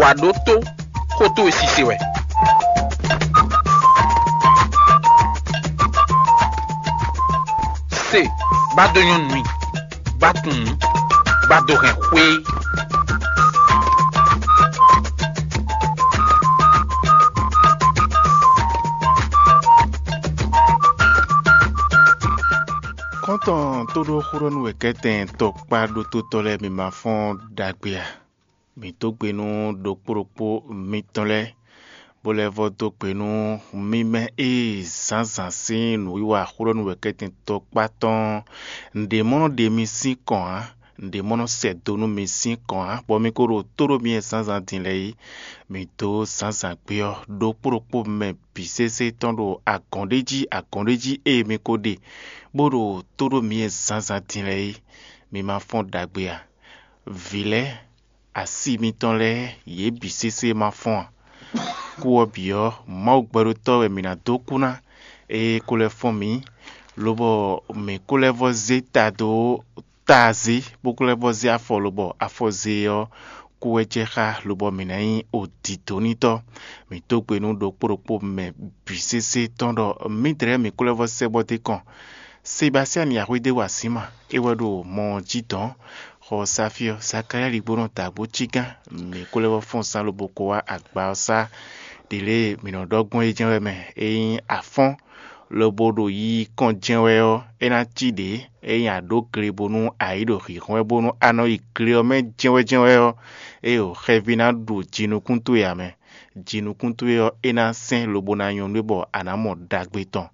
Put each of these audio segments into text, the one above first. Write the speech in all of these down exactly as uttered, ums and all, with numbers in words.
A ɖǒ tó, xó towe sise wɛ. Se, bá dó nyɔ́ nú mì, bá tunwun, bá dó hɛn xwé. Kɔ́ntɔn tó ɖó xó ɖɔ nú wɛ̌kɛ́tɛn tɔkpá ɖótótɔ́ lɛ́ɛ mi ma fɔ́n ɖagbe a? Mǐ dó gbe nú ɖokpó ɖokpó mitɔn lɛ́ɛ, bó lɛ́ vɔ́ dó gbe nú mì mɛ e zǎnzǎn sín nǔwiwa xó ɖɔ nú wɛ̌kɛ́tɛn tɔkpá tɔn ɔ́. Nǔɖé mɔ nɔ ɖe mi sín kɔn ǎ, nǔɖé mɔ nɔ sɛ do nú mi sín kɔn ǎ, bɔ mi ko ɖo tó ɖo mi e zǎnzǎn din lɛ́ɛ é. Mǐ dó zǎnzǎn gbé ɔ́, ɖokpó ɖokpó mɛ bǐ sésé tɔn ɖo agɔ̌n ɖé jí, agɔ̌n ɖé jí e mi ko ɖe, bó ɖo tó ɖo mi e zǎnzǎn din lɛ́ɛ é. Mi ma fɔ́n ɖagbe a? Vǐ lɛ́ɛ, asi mitɔn lɛ́ɛ, yě bǐ sésé ma fɔ́n a? Kú ɔ́ bǐ ɔ́, Mawu gbɛɖótɔ́ wɛ mǐ ná dó kú ná, ée é ko lɛ́ fɔ́n mǐ, lobɔ mǐ ko lɛ́ vɔ́ zé ta dó ta zé, bó ko lɛ́ vɔ́ zé afɔ, lobɔ afɔ zé ɔ́, kú wɛ jɛ xá, lobɔ mǐ ná nyí odǐdónítɔ́. Mǐ dó gbe nú ɖokpó ɖokpó mɛ bǐ sésé tɔn ɖɔ mǐdɛɛ mǐ ko lɛ́ vɔ́ sɛ́ bɔ dó kɔn. Sebastíani Axwédéwasíma, é wɛ ɖo mɔ ɔ́ jí dɔ̌n. Xɔ Safíɔ, Zakalía Ligbónɔ dǎgbó cígán, mǐ ko lɛ́ vɔ́ fɔ́n zán lobo ko wá agba ɔ́ sá. Ɖě lě e mǐ nɔ ɖɔ gbɔn é jɛ́n wɛ mɛ, é nyí afɔ́n, lobo ɖo yiyi kɔn jɛ́n wɛ ɔ́, é ná cí ɖě. Ényí a ɖǒ gle bónú a yi ɖo hǐnhɔ́n wɛ bónú a nɔ yi gle ɔ́ mɛ jɛ́nwɛ́jɛ́nwɛ́ ɔ́, é ɖo xɛví ná ɖu jinukún towe ǎ mɛ. Jinukún towe ɔ́, é ná sɛ́n lobo ná nyɔ́ nú we bɔ a nǎ mɔ ɖagbe tɔn.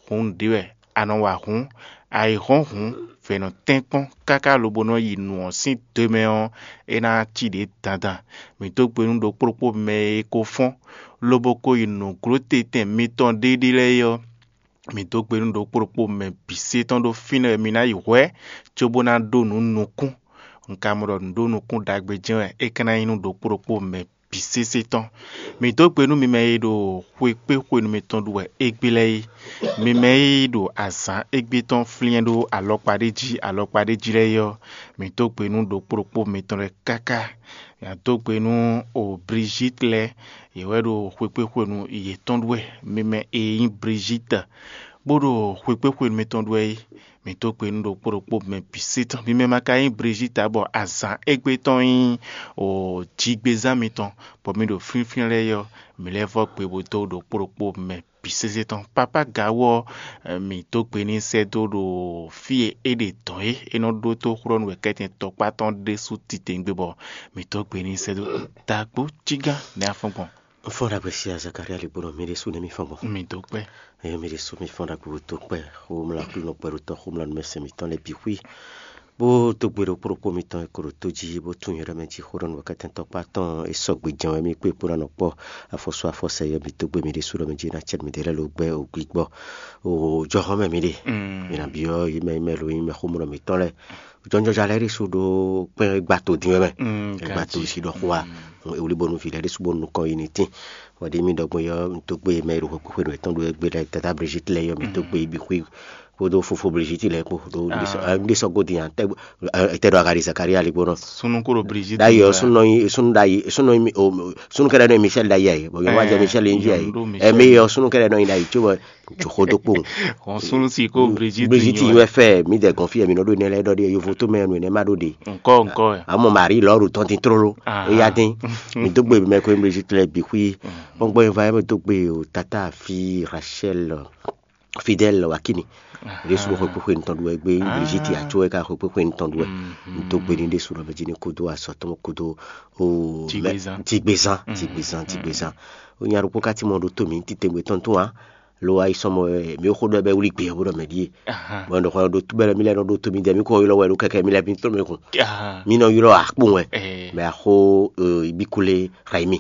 Hǔn nǔɖé wɛ a nɔ wa hǔn, a yi hɔ́n hǔn, vɛ̌ nɔ tɛ́nkpɔ́n káká lobo nɔ yi nǔ ɔ́ sín do mɛ ɔ́, é ná cí ɖě dandan. Mǐ dó gbe nú ɖokpó ɖokpó mɛ e ko fɔ́n, lobo ko yi nǔglótetɛn mitɔn ɖéɖé lɛ́ɛ é ɔ́, mǐ dó gbe nú ɖokpó ɖokpó mɛ bǐ sé tɔn ɖó fínɛ́ wɛ mi ná yi hwɛ̌, cóbó ná ɖó nǔ nukún. Un ka mɔ ɖɔ nǔɖó nukún ɖagbe jɛ́n wɛ é ka ná nyí nú ɖokpó ɖokpó mɛ bǐ sésé tɔn. Mǐ dó gbe nú mi mɛ e ɖo xwekpéxwenu mitɔn ɖu wɛ égbé lɛ́ɛ é. Mi mɛ e ɖo azǎn égbé tɔn flyɛ́n ɖó alɔkpa ɖé jí alɔkpa ɖé jí lɛ́ɛ é ɔ́, mǐ dó gbe nú ɖokpó ɖokpó mitɔn lɛ́ɛ káká. Mǐ ná dó gbe nú o Brigitte lɛ́ɛ, yě wɛ ɖo xwekpéxwenu yětɔn ɖu wɛ. Mi mɛ e nyí Brigitte, bó ɖo xwekpéxwenu mitɔn ɖu wɛ é, mǐ dó gbe nú ɖokpó ɖokpó mɛ bǐ sé tɔn. Mi mɛ ma ka nyí Brigitte ǎ, bɔ azǎn égbé tɔn nyí o jigbezán mitɔn, bɔ mi ɖo flínflín lɛ́ɛ é ɔ́, mǐ lɛ́ vɔ́ gbe bó dó ɖokpó ɖokpó mɛ bǐ sésé tɔn. Papá Gawú ɔ́, mǐ dó gbe n'i sɛ́ dó ɖo fí e é ɖe dɔ̌n é; é nɔ ɖótó xlɔ́ nú wɛ̌kɛ́tɛn tɔkpá tɔn ɖésú titewungbe, bɔ mǐ dó gbe n'i sɛ́ dó. Dǎgbó cígán nɛ́ afɔ́n gbɔn. Un fɔ́n ɖagbe sia Zakaria Ligbónɔ, mi ɖésú nɛ́ mi fɔ́n gbɔn. Mi dó kpɛ́. Eye mi ɖésú mi fɔ́n ɖagbe bó dó kpɛ́, xomlá Aklúnɔ kpɛɖótɔ́, xomlá numɛsɛn mǐtɔn lɛ́ɛ bǐ xwí, bó dó gbe ɖokpó ɖokpó mitɔn e ko ɖo tó jí, bó tunwun nyɛ ɖɔ mɛ jí xó ɖɔ nú wɛ̌kɛ́tɛ́ntɔ́ kpá tɔn e sɔgbe jɛ́n wɛ mì kpé bó ná nɔ kpɔ́ afɔsú afɔsɛ yɔ mǐ dó gbe mi ɖésú ɖɔ mɛ jí ná cɛ mǐdɛɛ lɛ́ɛ lo gbɛ́ o gbígbɔ o jɔhɔn mɛ mi ɖe. Mi ná byɔ́ yi mɛ yi mɛ lo nyí mɛ xomlɔ mǐtɔn lɛ́ɛ. Jɔnjɔja lɛ́ɛ ɖésú ɖó kpɛn e gba to dín wɛ mɛ. E gba to jí ɖɔ xó wa. E wlí bónú vǐ lɛ́ɛ ɖésú bónú nukɔn yi ní tín. Wɛ ɖi mì ɖɔ gbɔn yɔ, un dó gbe mɛ e ɖo xwekpéxwenu yětɔn ɖo égbé lɛ́ɛ, Tata Brigitte lɛ́ɛ yɔ mì dó gbe yi bǐ xwí kpódó fofo Brigitte lɛ́ɛ kpó ɖó un ɖésɔ gó din a tɛ ɖo aga ɖi Zakaria ligbó nɔ. Sunu kó ɖo Brigitte ɖayi ɔ, sunu nɔ nyi sunu ɖayi sunu nɔ nyi o sunu kɛɖɛ nɔ nyi Michel ɖayi ayi bɔ yɔ wa jɛ Michel nyi jí ayi. Ɛmi yɔ sunu kɛɖɛ nɔ nyi ɖayi tso bɔ tso xó dó kpó. Hɔn sunu si kó Brigitte Brigitte nyi wɛ fɛ mi dɛ gɔn fi mi nɔ ɖo nɛ lɛ ɖɔ ɖi yovo tó mɛ nɔ nɛ ma ɖo ɖi. Nkɔ nkɔ. Amɔ Marie lɔ ɖo tɔn tin tlóló. Eya dín mi dó gbe mɛ ko Brigitte lɛ bǐ xwí. Kpɔngbɔn yi va yɛ mɛ dó gbe o tata fi Rachel Fidèle Wakini. Ɖésú xwekpéxwenu tɔn ɖu wɛ gbé Brigitte atsó wɛ ká xwekpéxwenu tɔn ɖu wɛ. Ntó gbe ní ɖésú nɔ mɛ jí ní kúdó azɔ tɔn kúdó o Jigbezan. Jigbezan jigbezan jigbezan. O nya ɖokpó ká tí mɔ ɖo tó mǐ titewungbe tɔn tó a lo ayi sɔmɔ mí xó ɖɔ bɛ wuli gbé bó ɖɔ mɛ ɖíe. Bɔn ɖɔ xɔ ɖo tó bɛ mí lɛ nɔ ɖo tó mí dɛ mí kɔ ylɔ wɛ ɖo kɛkɛ mí lɛ mí tó mɛ kun. Mí nɔ ylɔ akpó wɛ. Mɛ axó ibikule Raimi.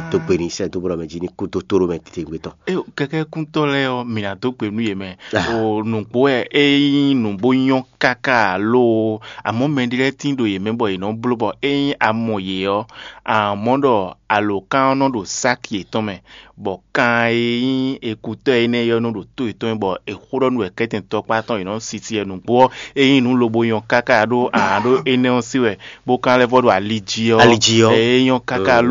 Tó gbe ní sɛ dó bó ɖɔ mɛ jí ní kú tó tó ɖo mɛ titewungbe tɔn. Kɛkɛ kúntɔ lɛ ɔ mǐ ná dó gbe nú yě mɛ. O nǔgbó wɛ é nyí nǔgbó nyɔ́ káká alo amɔ̌ mɛɖé lɛ́ɛ tín ɖo yě mɛ bɔ yě nɔ bló bɔ ényí a mɔ yě ɔ́, a mɔ ɖɔ alǒkan ɔ́ nɔ ɖo sáki yětɔn mɛ, bɔ kan e nyí ekutɔ́ énɛ́ ɔ́ nɔ ɖo tó yětɔn mɛ bɔ è xó ɖɔ nú wɛ kɛ́tɛn tɔkpá tɔn yě nɔ sisi wɛ nǔgbó ɔ́, é nyí nǔ lobo nyɔ́ káká ɖó a ɖó énɛ́ ɔ́ sí wɛ, bó kan lɛ́ vɔ ɖo ali jí ɔ́. Ali jí ɔ́. É nyɔ́ káká ló